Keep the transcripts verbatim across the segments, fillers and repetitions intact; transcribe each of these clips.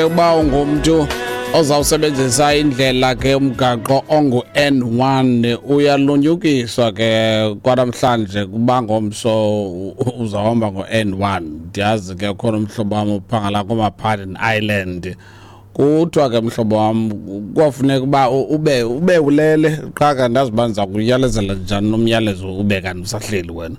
Uba ungumntu ozawusebenzisa indlela ke umgaqo ongu-N one, uyalunyukiswa ke kwanamhlanje kuba ngomso uzawuhamba ngo-N one. Ndiyazi ke khona umhlobo wam uphangela kooMapaden Island. Kuthiwa ke mhlobo wam kwafuneka uba ube ube ulele qha ke andazi uba ndiza kuyalezela njani nomyalezo ube kanti usahleli wena.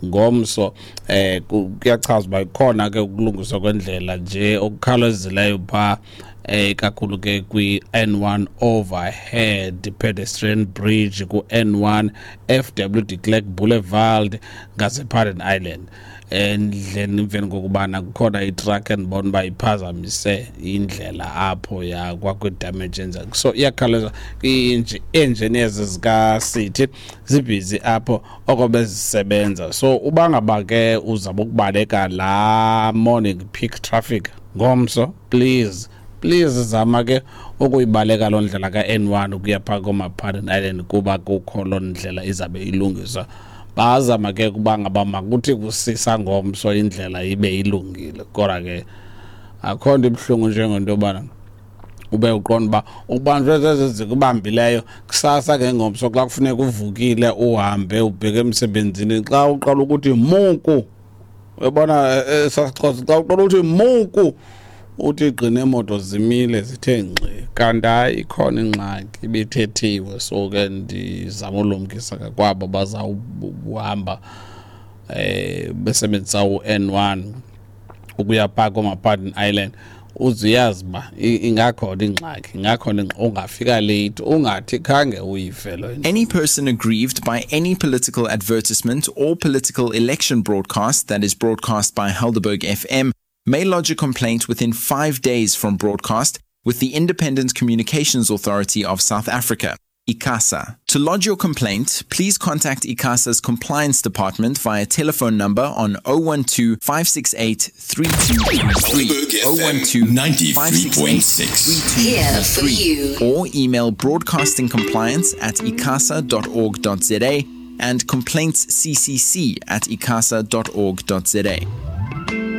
Ngomso eh kuyachaza uba ikhona ke ukulungiswa kwendlela nje okukhawulezileyo phaa eh kakhulu ke kwi-N one overhead pedestrian bridge ku-N one F W de Klerk Boulevard ngasePaden Island. Endleleni emveni kokubana kukhona itruck endibona uba iphazamise indlela apho yakwakwi-damage enzeka. So iyakhawuleza ii-engineers zikaCity zibhizi apho oko bezisebenza. So uba ngaba ke uzama ukubaleka laa morning peak traffic ngomso, please please zama ke ukuyibaleka loo ndlela ka-N one ukuya phaa kooMapaden Island kuba kukho loo ndlela izabe ilungiswa. Bazama ke kuba ngaba makuthi kusisa ngomso indlela ibe ilungile, kodwa ke akho nto ibuhlungu njengento yobana ube uqonda uba ubanjwe zezi zikubambileyo kusasa ke ngomso xa kufuneka uvukile uhambe ubheke emsebenzini. Xa uqala ukuthi muku, uyabona esasiXhosa, xa uqala ukuthi muku uthi gqine imoto zimile zithe ngxi, kanti hayi ikhona ingxaki ibithethiwe. So ke ndizama ulumkisa ke kwabo bazawuhamba eh besebenzisa u-N one ukuya phaa kooMapaden Island, uzuyazi uba ingakhona ingxaki, ingakhona ingxaki, ungafika late ungathi khange uyive loo nto. Any person aggrieved by any political advertisement or political election broadcast that is broadcast by Helderberg F M may lodge a complaint within five days from broadcast with the Independent Communications Authority of South Africa, ICASA. To lodge your complaint, please contact ICASA's Compliance Department via telephone number on oh one two, five six eight, three two three three, oh one two, five six eight, three two Here for three, you. or email broadcastingcompliance at icasa dot org dot za and complaints c c c at icasa dot org dot za.